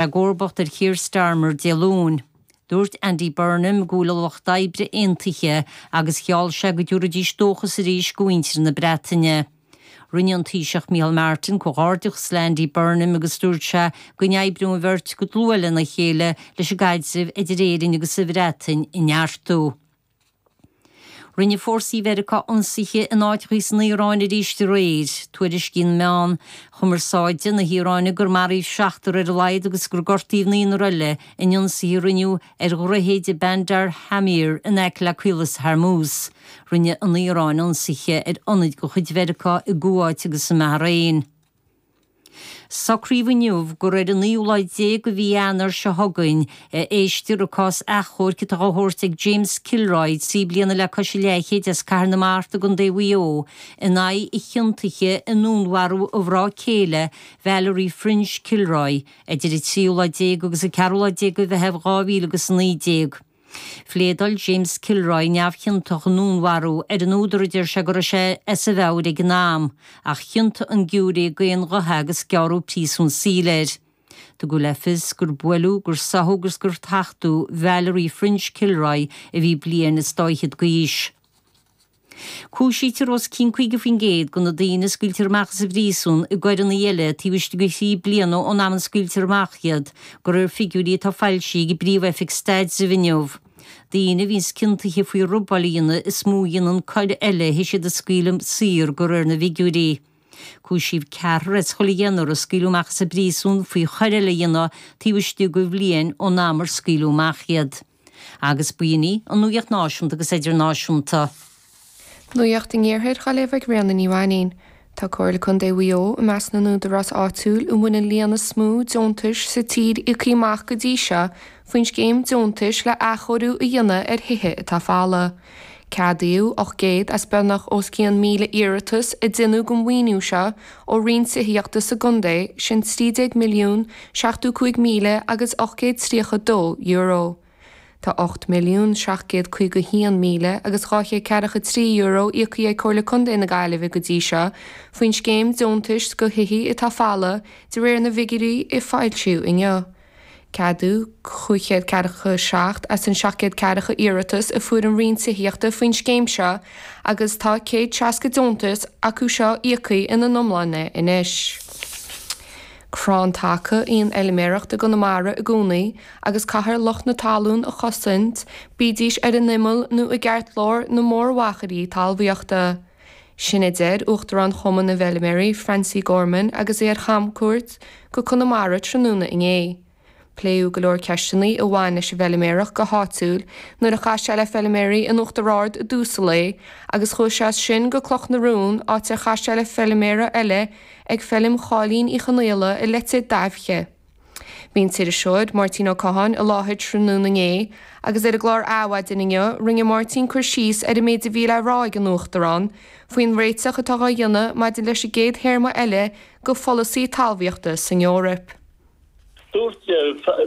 I gcomharbacht ar Keir Starmer Dé Luain, dúirt Andy Burnham go bhfuil an lucht oibre aontaithe agus gheall sé go dtabharfaidís dóchas arís go mhuintir na Breataine. Rinne an Taoiseach Micheál Martin comhghairdeachas le Andy Burnham agus dúirt sé go n-oibreodh an bheirt go dlúth lena chéile leis an gcaidreamh idir Éirinn agus an Bhreatain a neartú. Rinne fórsaí Mheiriceá ionsaithe in áiteachaí san Iaráin arís aréir. Tuairiscíonn meáin chumarsáide na hIaráine gur maraíodh seachtar ar a laghad agus gur gortaíodh naonúr eile in ionsaithe a rinneadh ar dhroichéid i Bandar Khamir in aice le Caolas Hormuz. Rinne an Iaráin ionsaithe ar ionaid de chuid Mheiriceá i gCuáit agus i mBahrain. Socraíodh inniu gur ar an naoú lá déag de mhí Eanáir seo chugainn a éistfear an cás achomhairc atá á thabhairt ag James Kilroy, 3 bliana le cois a leathchéid as Cathair na Mart i gContae Mhaigh Eo, in aghaidh a chiontaithe i ndúnmharú a mhná céile, Valerie French Kilroy, idir an tríú lá déag agus an ceathrú lá déag de Mheitheamh 2000 agus 19. Phléadáil James Kilroy neamhchiontach i ndúnmharú ar an údar a deir sé go raibh sé as a mheabhair ag an am, ach chiontaigh an giúiré d'aon ghuth é agus gearradh príosún saoil air. Tugadh le fios gur buaileadh, gur sáthadh agus gur tachtadh Valerie French Kilroy a bhí bliain is dá fhichead d'aois. Cúisítear os cionn 50% de na daoine a scaoiltear amach as an bpríosún i gcoireanna eile taobh istigh de thrí bliana ón am a scaoiltear amach iad, de réir figiúirí atá foilsithe ag an bPríomh-Oifig Staidrimh inniu. Daoine a bhíonns ciontaithe faoi robáil a dhéanamh is mó a dhéanann coir eile théis iad a scaoileadh saor, de réir na bhfigiúirí. Cúisíodh ceathrar as chuile dheichniúr a scaoileadh amach as an bpríosún faoi choir eile a dhéanamh taobh istigh de bhliain ón am ar scaoileadh amach iad. Agus b'in í an nuacht náisiúnta agus idirnáisiúnta. Nuacht an Iarthair á léamh ag Ríona Ní Mhainín. Tá Comhairle Contae Mhaigh Eo i measc na n-údarás áitiúil a bhain an líon is mó deontais sa tír íoctha amach go dtí seo faoin scéim deontais le athchóiriú a dhéanamh ar thithe atá folamh. Ceadaíodh 800 as beagnach os cionn 1,000 iarratas a deineadh don mhaoiniú seo ó Roinn Tithíochta sa gcontae, sin 13 milliún 75 míle agus 832 euro. Tá 8 milliún 751 míle agus 243 euro íoctha ag Comhairle Contae na Gaillimhe go dtí seo faoin scéim deontais do thithe atá folamh de réir na bhfigiúirí a foilsíodh inniu. Ceadaíodh 547 as an 740 iarratas a fuair an Roinn Tithíochta faoin scéim seo agus tá 160 deontas acu seo íoctha ina n-iomláine anois. Crann taca í an fheilméaracht i gConamara i gcónaí agus caithfear lucht na talún a chosaint, bídís ar an imeall nó i gceartlár na mórmhachairí talmhaíochta. Sin a deir Uachtarán Chumann na bhFeilméaraí, Francie Gorman agus é ar chamcuairt go Conamara tráthnóna inné. Pléadh go leor ceisteanna a bhain leis an bhfeilméaracht go háitiúil nuair a chas sé le feilméaraí in Uachtar Ard i dtús an lae agus chuaigh sé as sin go Cloch na Rún áit ar chas sé le feilméara eile ag feilm Cháilín Uí Chonaola i Leitir Daibhche. Bhí an t-iriseoir, Máirtín Ó Catháin, i láthair tráthnóna inné agus ar an gclár Adhmhaidin inniu, rinne Máirtín cur síos ar an méid a bhí le rá ag an Uachtarán faoin réiteach atá á dhéanamh maidir leis an gcéad théarma eile de pholasaí talmhaíochta san Eoraip. Dúirt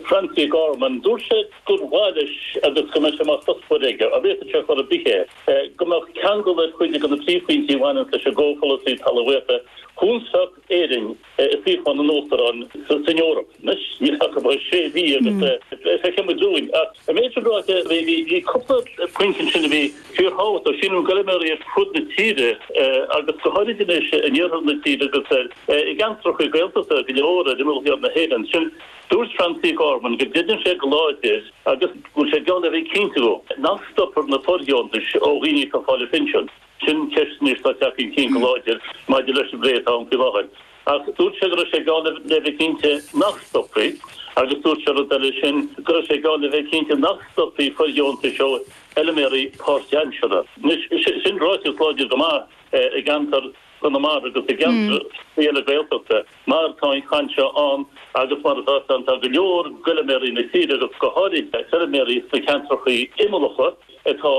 Francie Gorman, dúirt sé gur mhaith leis agus go mbeidh sé mar chuspóir aige, an bhféadfadh sé chor ar bith é, go mbeadh ceangal ar chuid de na príomhphointí a bhaineanns leis an gcomhpholasaí talmhaíochta, thunsfadh Éirinn i suíochán an Uachtaráin san Eoraip. Anois, níl ach about sé mhí agus feicfidh muid romhainn. Ach an méid sin ráite, bhí cúpla pointe ansin a bhí fíorthábhachtach. Sílim d'fheilméaraí ar fud na tíre agus go háirid anois in iarthar na tíre agus i gceantracha Gaeltachta go leor ar imeall thiar na hÉireann. Sin, dúirt Francie Gorman go gcreideann sé go láidir agus go bhfuil sé geall le bheith cinnte go nach stopfar na fóirdheontais ó dhaoine atá ag fáil a phinsean. Sin ceist anois atá ag teacht chun cinn go láidir maidir leis an bplé atá ann faoi láthair. Ach dúirt sé go raibh sé geall le bheith cinnte nach stopfaí agus dúirt sé rud eile, sin go raibh sé geall le bheith cinnte nach stopfaí fóirdheontais ó fheilméaraí páirtaimseartha. Anois, sin ráiteas láidir go maith i gceantar Chonamara agus i gceantracha eile Gaeltachta mar tá an chaint seo ann agus mar atá ann tá go leor d'fheilméaraí na tíre agus go háirid feilméaraí sna ceantracha imeallacha atá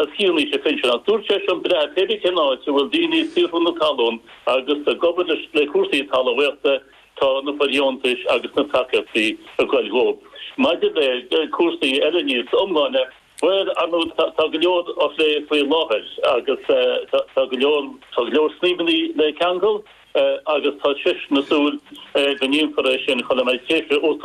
os cionn aois a phinsin. Ach dúirt sé sin breá, pé bith cén áit a bhfuil daoine ag saothrú na talún agus ag obair le cúrsaí talmhaíochta, tá na fóirdheontais agus na tacaíochtaí ag goil dhóibh. Maidir le cúrsaí eile níos iomláine, bhuel, ar ndóigh, tá go leor á phlé faoi láthair agus tá go leor, tá go leor snaidhmeanna le ceangal. agus tá seisean ag súil go ndéanfar é sin chun a mbeidh tréimhse uachtaráin.